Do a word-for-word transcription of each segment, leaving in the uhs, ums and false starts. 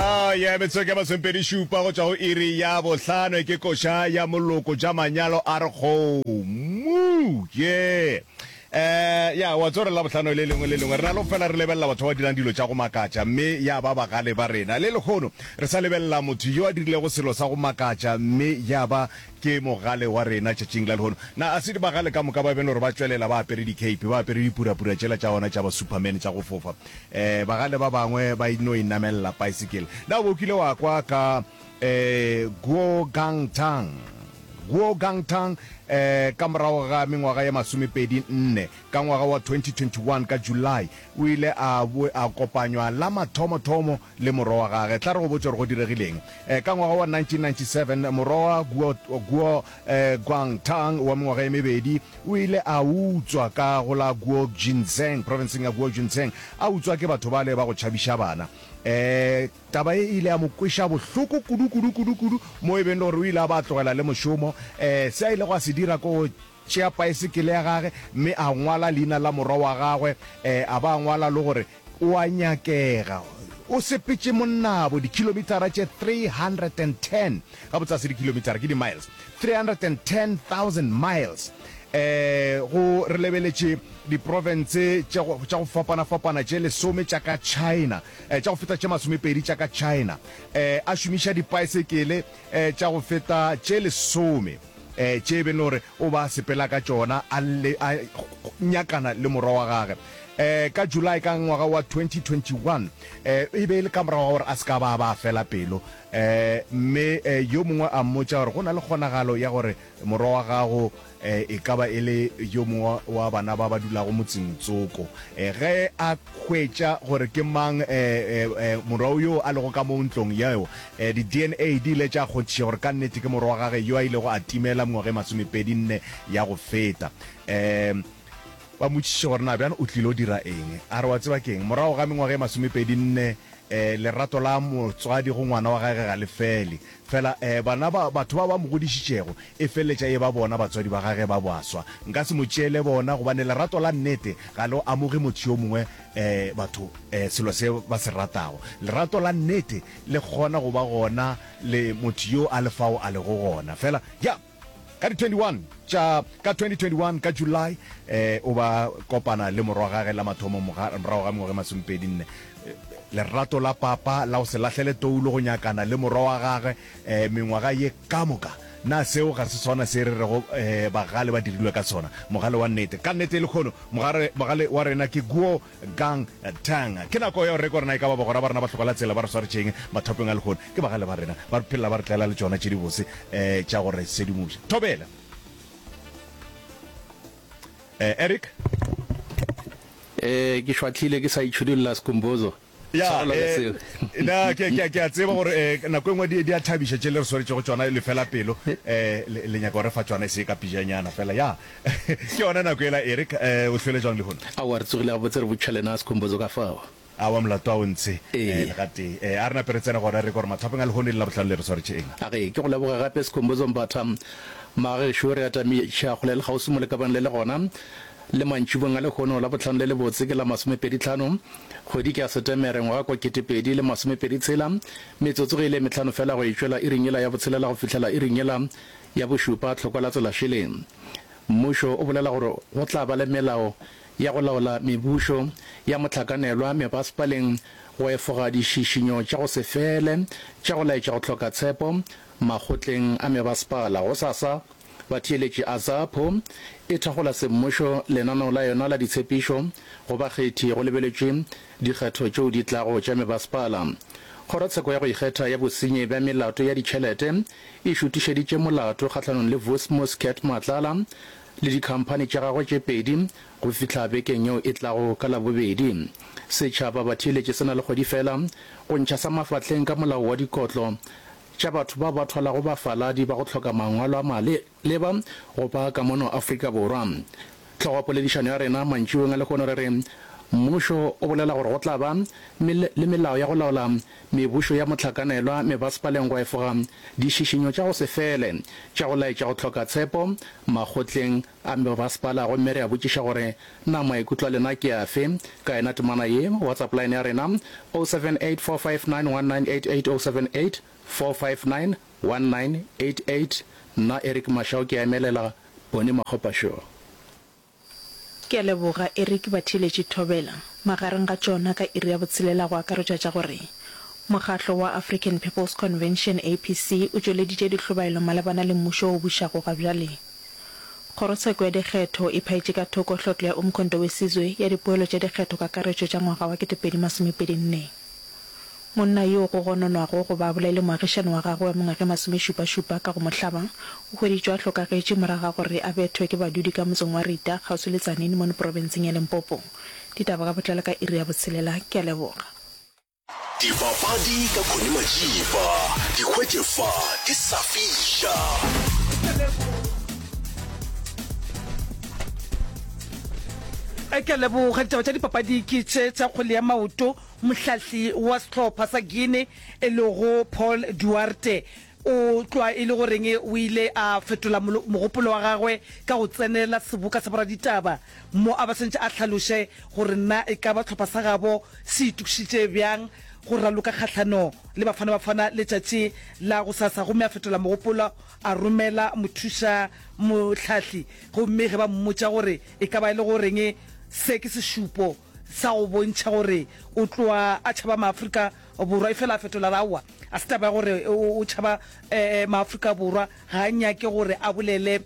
Oh yeah, metsotso ke masomepedi šupa go tšwa go iri ya bohlano ke koša ya moloko tša manyalo a re kgomo ye eh ya wa tsore la bohlano le lengwe le lengwe re na le go fela re lebelela batho ba dirang dilo tša go makatša mme ya ba bagale ba rena le lekgono re sa lebelela motho yo a dirilego selo sa go makatša mme ya ba ke mogale wa rena tšatšing la lehono na a se di bagale ka moka ba bene gore ba tšwelela ba apere di-cape ba apere dipurapura tšela tša ona tša ba superman tša go fofa um bagale ba bangwe ba no inamelela bicycle na o bo kile wa kwa ka um Guo Gangtang Guo Gangtang um ka morago ga mengwaga ya masomepedi nne ka ngwaga wa twenty twenty-one ka July o ile a a kopanywa la mathomothomo le morwa wa gage. Tla re go botše gore go diregileng. Um ka ngwaga wa nineteen ninety-seven morwa wa Guo, Guo um Guangtang wa mengwaga e mebedi o ile a utswa ka go la Guo Jinzheng, profenseng ya Guo Jinzheng, a utswa ke batho bale ba go tšhabiša bana. Um taba ye e ile ya mo kweša bohloko kudu kudu kudu kudu mo e beng le gore o ile a ba a tlogela le mošomo. Um se a ilego a se dira ke go tšea paesekele ya gage mme a ngwala leina la morwa wa gagwe, um a ba a ngwala le gore o a nyakega. O sepetše monnabo dikilometara tše three hundred and ten, gabotse ga se dikilometara, ke di-miles, three hundred and ten thousand miles, um go re lebeletše diprofense tša go tša go fapana-fapana tše lesome tša ka China, um tša go feta tše masomepedi tša ka China, um a šomiša dipaesekele um tša go feta tše lesome um tše e beng le gore o ba sepela ka tšona a le a nyakana le morwa wa gage. Um ka July ka ngwaga wa twenty twenty-one um e be e le ka morago ga gore a se ka ba ba fela pelo, um mme um yo mongwe a mmotša gore go na le kgonagalo ya gore morwa wa gago um e ka ba e le yo mongwe wa bana ba ba dulago motseng tsoko. Um ge a hwetša gore ke mang um um morwa yo a lego ka mo ntlong yeo, um di-D N A di ile tša kgonthiša gore ka nnete ke morwa wa gage yo a ilego a timela mengwaga e masomepedi nne ya go feta. Um ba mmotšiše gore na bjang o tlilo dira eng. A re wa tseba keng, morago ga mengwaga e masomepedi nne, um lerato la motswadi go ngwana wa gage ga le fele. Fela um bana ba batho ba ba mo godišitšego e feleletša e ba bona batswadi ba gage ba baswa. Nka se mo tšeele bona gobane lerato la nnete ga le amoge motho yo mongwe um batho um selo se ba se ratago. Lerato la nnete le kgona go ba gona le motho yo a le fao a lego gona. Fela ya ka di twenty-one tša ka twenty twenty-one ka July eh o ba kopana le morwa gage la mathomo morago ga mengwaga e masomepedi nne. Lerato la papa la go se lahlele toulo go nyakana le morwa wa gagwe eh mengwaga ye ka moka. Na seo ga se sona se re rego eh bagale ba dirilwe ka sona? Mogale wa nnete. Ka nnete lehono mogare mogale wa rena ke Guo Gang Tang. Ke nako ya go reka gore na e ka ba bagwera ba rena ba hloka la tsela ba re swaretšeng mathopeng a lehono. Ke bagale ba rena ba re phelela ba re tlela le tšona tše dibose eh tša go re sedimoša. Thobela. Eh Eric. Eh ke šwahlile ke sa itšhudulla Skhumbuzo. Ya, Tshwarelo ka eh, seo. na ke ke ke a tseba gore eh nako e nngwe di di a thabiša tše le re swaretšego tšona le fela pelo eh le le nyaka go re fa tšona e se ka pijanyana fela ya. Ke yona nako ela Eric eh o hlwele jwang lehono? Aowa re tsogile gabotse re botšha lena Skhumbuzo ka fao. Aowa molato a o ntshe eh Ee. le gatee. Eh a re nape re tsene gona re gore mathapeng a lehono e le Labohlano le re swaretše eng. A ge ke go leboge gape Skhumbuzo Mbatha. Magagešo re atamiša kgole le kgauswi mo lekabang le le gona le mantšibong a lehono Labohlano le lebotse ke la masomepedi tlhano kgwedi ke ya Setemere ngwaga kwa ketepedi le masomepedi tshela metsotso ge e le mehlano fela go e tšwela iring yela ya botshelela go fihlela iring yela ya bošupa tlhokwa la tsela šele. Mmušo o bolela gore go tla ba le melao ya go laola mebušo ya mohlakanelwa mebasepaleng go efoga dišišinyo tša go se fele tša go laetša go hloka tshepo makgotleng a mebasepala. Gosasa, batheeletši AZAPO e thakgola semmušo lenaneo la yona la ditshepišo go bakgethi go lebeletšwe dikgetho tšeo di tlago tša mebasepala. Kgorotsheko ya go ikgetha ya bosenyi bja melato ya ditšhelete e šutišeditše molato kgahlanong le Vusimuzi Cat Matlala le dikhamphani tša gagwe tše pedi go fihla bekeng yeo e tlago ka Labobedi. Setšhaba batheeletši se na le kgwedi fela go ntšha sa mafahleng ka molao wa dikotlo tša batho bao ba thwalago bafaladi ba go hloka mangwalo a maleba go ba ka mono Afrika Borwa. Hlogo ya poledišano ya rena mantšiboeng a lehono re re Mmušo o bolela gore go tla ba le melao ya go laola mebušo ya mohlakanelwa mebasepaleng go efoga dišišinyo tša go se fele tša go laetša go hloka tshepo makgotleng a mebasepala. Gomme re a botšiša gore na maikutlo a lena ke afe ka yena temana ye. WhatsApp line ya rena oh seven eight four five nine one nine eight eight oh seven eight four five nine one nine eight eight. Nna Eric Mashau ke a emelela Bonnie Makgopa Show. Ke a leboga Eric Batheeletši Thobela. Magareng ga tšona ka iri ya botshelela go akaretšwa tša gore Mokgahlo wa African People's Convention, A P C, o tšweleditše dihlobaelo malebana le mmušo wo o bušago gabjale. Kgorotsheko ya Dikgetho e phaetše ka thoko hlotlo ya Umkhonto we Sizwe ya dipoelo tša dikgetho kakaretšo tša ngwaga wa kete pedi masomepedi nne. Monna yoo go gononwago go ba a bolaile moagišani wa gagwe wa mengwaga e masomešupa-šupa ka go mo hlaba, o hweditšwe a hlokagetše morago ga gore a bethwe ke badudi ka motseng wa Rita, kgauswi le Tzaneen mono profenseng ya Limpopo. Ditaba ka botlalo ka iri ya botshelela. Ke a leboga. Dipapadi ka Connie Majiba, di hwetše fa di sa fiša. Ke a leboga. Ditaba tša dipapadi ke tše tša kgwele ya maoto. Mohlahli wa sehlopha sa Guinea e lego Paul Duarte o tloga e le goreng o ile a fetola mogopolo wa gagwe ka go tsenela seboka sa boraditaba mo a ba swantše a hlaloše gore na e ka ba sehlopha sa gabo se itokišitše bjang go raloka kgahlano le Bafana Bafana letšatši la gosasa gomme a fetola mogopolo a romela mothuša mohlahli gomme ge ba mmotša gore e ka ba e le goreng se ke sešupo sa go bontšha gore o tloga a tšhaba Maafrika Borwa, efela a fetola a re aowa, a se taba ya gore o tšhaba Maafrika Borwa, ga a nyake gore a bolele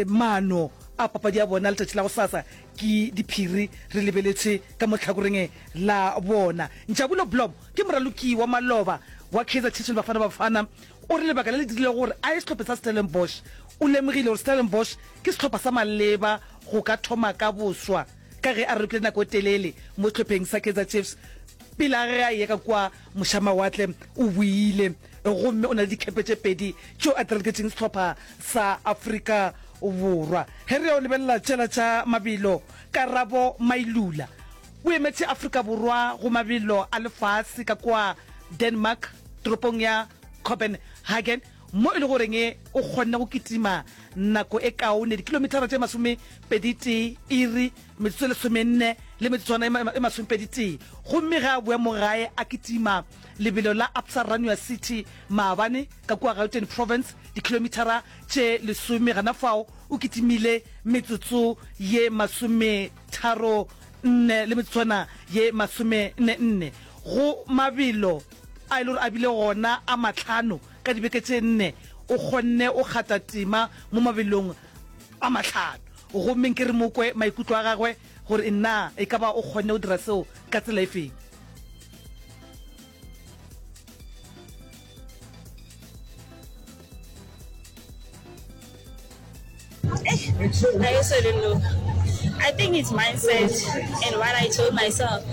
maano a papadi ya bona letšatši la gosasa ke diphiri re lebeletše ka mo hlakoreng la bona. Njabulo Blom ke moraloki wa maloba wa Kaizer Chiefs le Bafana Bafana, o re lebaka le le dirilego gore a ye sehlopheng sa Stellenbosch, o lemogile gore Stellenbosch ke sehlopha sa maleba go ka thoma ka boswa ka ge a ralokile nako e telele mo sehlopheng sa Kaizer Chiefs pele a ge a eya ka kua mošamawatle. O boile gomme o na le dikhepe tše pedi tšeo a di raloketšeng sehlopha sa Afrika Borwa. Ge re ya go lebelela tšela tša mabelo, Karabo Mailula o emetše Afrika Borwa go mabelo a lefase ka kua Denmark toropong ya Copenhagen mo e le goreng o kgonne go kitima nako e kaone dikilometara tše masomepedi tee iri metsotso e lesomenne le metsotswana e masomepedi tee gomme ge a boya mo gae a kitima lebelo la Absa Runway City maabane ka kua Gauteng Province dikilometara tše lesome gana fao o kitimile metsotso ye masometharo nne le metsotswana ye masomenne nne go mabelo a e le gore a bile gona a mahlano ka dibeke tše nne o kgonne o kgata tema mo mabelong a mahlano gomme nke re mo kwe maikutlo a gagwe gore na e ka ba o kgonne go dira seo ka tsela e feng. I also don't know. I think it's mindset and what I told myself.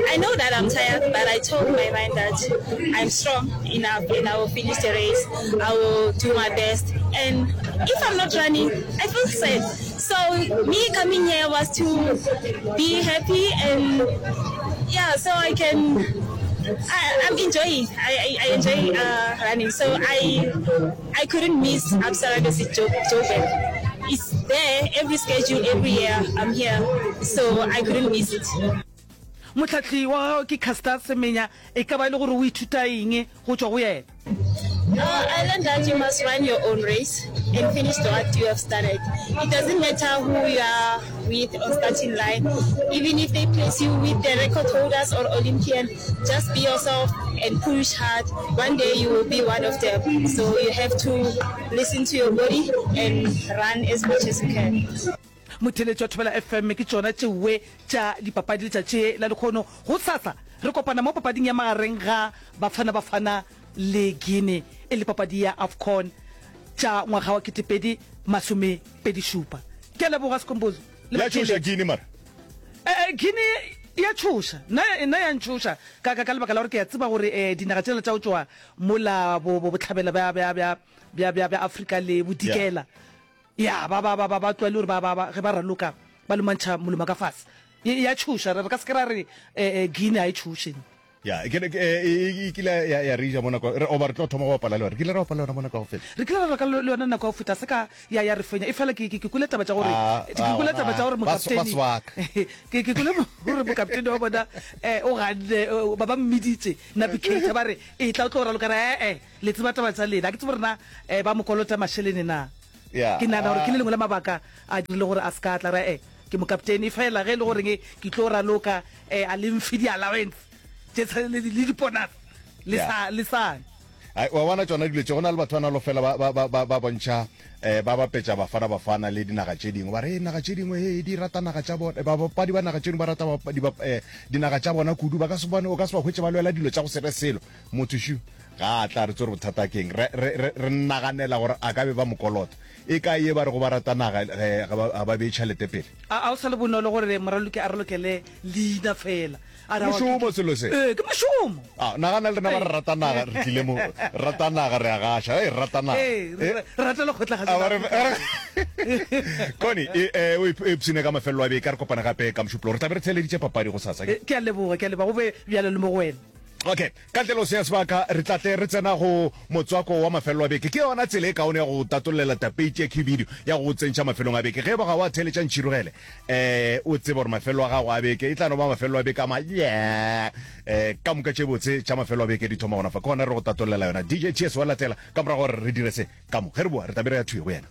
I know that I'm tired, but I told my mind that I'm strong enough and I will finish the race. I will do my best. And if I'm not running, I feel sad. So me coming here was to be happy and yeah, so I can, I, I'm enjoying. I, I, I enjoy, uh, running. So I, I couldn't miss Absa Rugby Joburg. It's there every schedule, every year I'm here, so I couldn't miss it. Mohlahli wa gagwe ke Caster Semenya, e ka ba e le gore o ithuta eng go tšwa go yena? Uh, I learned that you must run your own race and finish what you have started. It doesn't matter who you are with on starting line, even if they place you with the record holders or Olympian, just be yourself and push hard. One day you will be one of them. So you have to listen to your body and run as much as you can. Motheletši wa Thobela F M ke tšona tšeoe tša dipapadi letšatši la lekgono. Go sasa re kopana mo papading ya magareng ga Bafana Bafana le Guinea e le papadi ya AFCON tša ngwaga wa ketepedi masomepedi šupa. Ke a leboga Sekombozo le Ya tšhoša batheeletši. Guinea mara? Eh, eh, Guinea ya tšhoša. Nna, nna ya ntšhoša ka, ka, ka lebaka la gore ke a tseba gore, eh, dinaga tšela tša go tšwa mola bo, bo bohlabela bja, bja, bja, bja, bja, bja Afrika le bodikela. Ya, ba, ba, ba, ba, ba tlwaele gore ba, ba, ba, ge ba raloka ba lomantšha molomo ka fase. E ya tšhoša, re ka se ke ra re Guinea ga e tšhoše. Ya, ke ne e kile ya ya re ja mo nako re oba re tlo thoma go bapala le yona. Re kile ra bapala le yona mo nako ya go feta. Re kile ra raloka le yona nako ya go feta, se ka ya ya re fenya. Efela ke ke kwele taba tša gore ke kwele taba tša gore mokapteni ke ke kwele gore mokapteni wa bona o ganne ba ba mmiditše Navigator ba re etla o tlo raloka re ee le tseba taba tša lena. Ga ke tsebe gore na ba mo kolota mašelene na. Ke nagana gore ke le lengwe la mabaka a dirile gore a se ka tla re ee ke mokapteni. Efela ge e le goreng ke tlo raloka a le mfe di-allowance tše le diponase le sa le sane. Ai, wa bona tšona dilo tše, go na le batho ba nalo fela ba, ba, ba, ba, ba bontšha, eh, ba bapetša Bafana Bafana le dinaga tše dingwe. Ba re, naga tše dingwe, he, di rata naga tša bona, babapadi ba naga tše dingwe ba rata ba, di, eh, dinaga tša bona kudu. Ba ka se bone, o ka se ba hwetše ba lwela dilo tša go se re selo. Motho šu, ga a tla re tsore bothata keng. Re, re, re, re naganela gore a ka be ba mo kolota. E kae ye ba rego ba rata naga, eh, ga ba, ga ba bee tšhelete pele? A, a o sa le bonolo gore moraloki a ralokele leina fela. A re, Mošomo selo se. Ee, ke mošomo. A, nagana le rena ba re rata naga, re tlile mo, re rata naga, re a gaša, ee, re rata naga. Ee, re, re rata lekgotla ga se Connie, e, e, o ipshine ka mafelelo a beke, a re kopane gape ka Mošupologo. Re tla be re theeleditše papadi gosasa. Ke a leboga, ke a leboga, go be bjalo le mo go wena. Okay, ka ntle le go senya sebaka, re tla tle re tsena go motswako wa mafelelo a beke. Ke yona tsela e kaone ya go tatollela tapeiti ya khibidu ya go go tsentšha mafelong a beke. Ge e ba ga wa theeletša ntšhirogele, eh, o tsebe gore mafelelo a gago a beke e tla no ba mafelelo a beke a ma yeah. Eh, ka moka tše botse tša mafelelo a beke di thoma gona fa. Ke gona re go tatollela yona. D J T S wa latela ka morago gore re dire se ka mo. Ge re boa, re tla be re ya thwi go yena.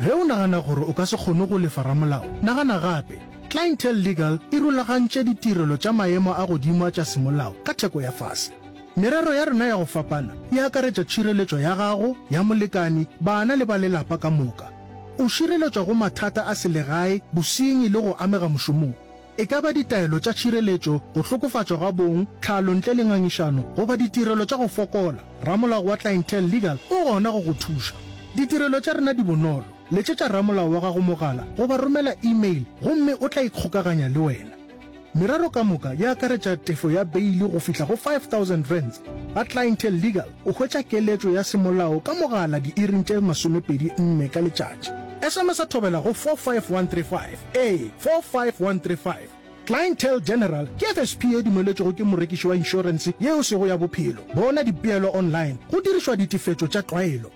Ge o nagana gore o ka se kgone go lefa ramolao, nagana gape. Clientele Legal e rulagantše ditirelo tša maemo a godimo a tša semolao ka theko ya fase. Merero ya rena ya go fapana e akaretša tšhireletšo ya gago, ya molekani, bana le ba lelapa ka moka. O šireletšwa go mathata a selegae, bosenyi le go amega mošomong. E ka ba ditaelo tša tšhireletšo, go hlokofatšwa ga bong, tlhalo ntle le ngangišano goba ditirelo tša go fokola, ramolao wa Clientele Legal o gona go go thuša. Ditirelo tša rena di bonolo. Letšetša ramolao wa gago mogala goba romela email gomme o tla ikgokaganya le wena. Merero ka moka e akaretša tefo ya beili go fihla go five thousand rands. Ga Clientele Legal o hwetša keletšo ya semolao ka mogala diiring tše masomepedi nne ka letšatši. S M S a thobela go four five one three five, ee, four five one three five. Clientele General ke F S P e dumeletšwego ke morekiši wa inšorense yeo sego ya bophelo. Bona dipeelo online go dirišwa ditefetšo tša tlwaelo.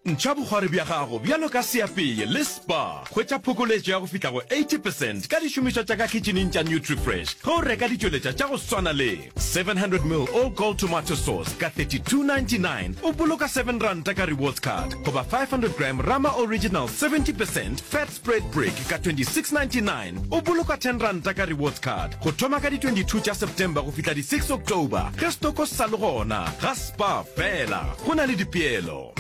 Ntšha bokgwari bja gago bjalo ka seapeye le Spar. Hwetša phokoletšo ya go fihla go eighty percent ka dišomišwa tša ka khitšhining tša Nutrifresh ge o reka ditšweletša tša go swana le seven hundred mil All Gold Tomato Sauce ka thirty-two ninety-nine, o boloka seven ranta ka rewards card, goba five hundred gram Rama Original seventy percent Fat Spread Brick ka twenty-six ninety-nine, o boloka ten ranta ka rewards card. Go thoma ka di twenty-two tša September go fihla di six October ge stoko se sa le gona ga Spar fela. Go na le dipeelo.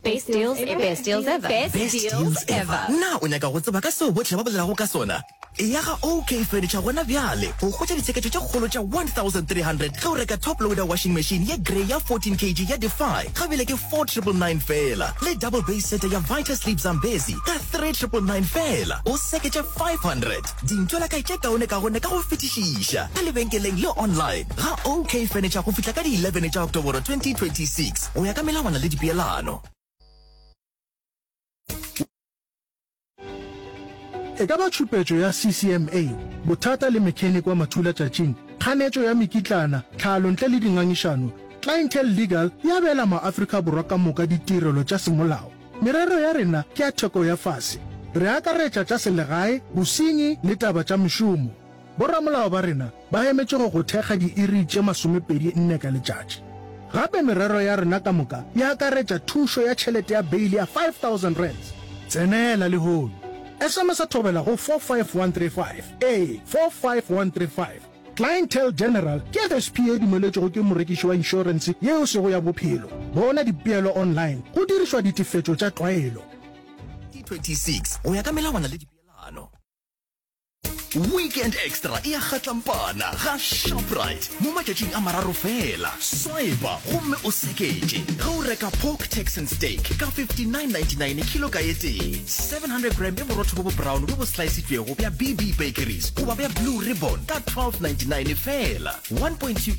Best deals ever. Best deals ever. Best, Best deals, deals ever. ever. Na o nyaka go tseba ka seo bohle ba bolelago ka sona? Eya ga O K Furniture gona bjale go hwetša ditsheketšo tše kgolo tša one thousand three hundred ge o reka top loader washing machine ye grey ya fourteen kilograms ya Defy ga bjale ke four triple nine fela, le double base setter ya Vita Sleep Zambezi ka three triple nine fela, o seketše five hundred. Dintho la kae tše kaone-kaone ka go fetišiša ka lebenkeleng le online ga O K Furniture go fihla ka di eleven tša Oktoboro twenty twenty-six go ya ka melawana le dipeelano. E ka ba tšhupetšo ya C C M A, bothata le mechanic wa mathulatšatšing, kganetšo ya mekitlana, tlhalo ntle le dingangišano, Clientele Legal e abela maAfrika Borwa ka moka ditirelo tša semolao. Merero ya rena ke ya theko ya fase. Re akaretša tša selegae, bosenyi le taba tša mešomo. Boramolao ba rena ba emetše go go thekga diiri tše masomepedi nne ka letšatši. Gape merero ya rena ka moka e akaretša thušo ya tšhelete ya beili ya five thousand rands. Tsenela lehono. S M S a thobela go four five one three five, ee, four five one three five. Clientele General ke F S P e dumeletšwego ke morekiši wa inšorense yeo sego ya bophelo. Bona dipeelo online go dirišwa ditefetšo tša tlwaelo. twenty-six go ya ka melawana le dipeelano. Weekend Extra e a kgatlampana ga Shoprite mo matšatšing a mararo fela. Swipa gomme o seketše ge o reka pork Texan steak ka fifty-nine ninety-nine kilo ka e tee, seven hundred gram ya borotho bo bo brown bo bo slice-itšwego bja B B Bakeries goba bja Blue Ribbon ka twelve ninety-nine fela, one point two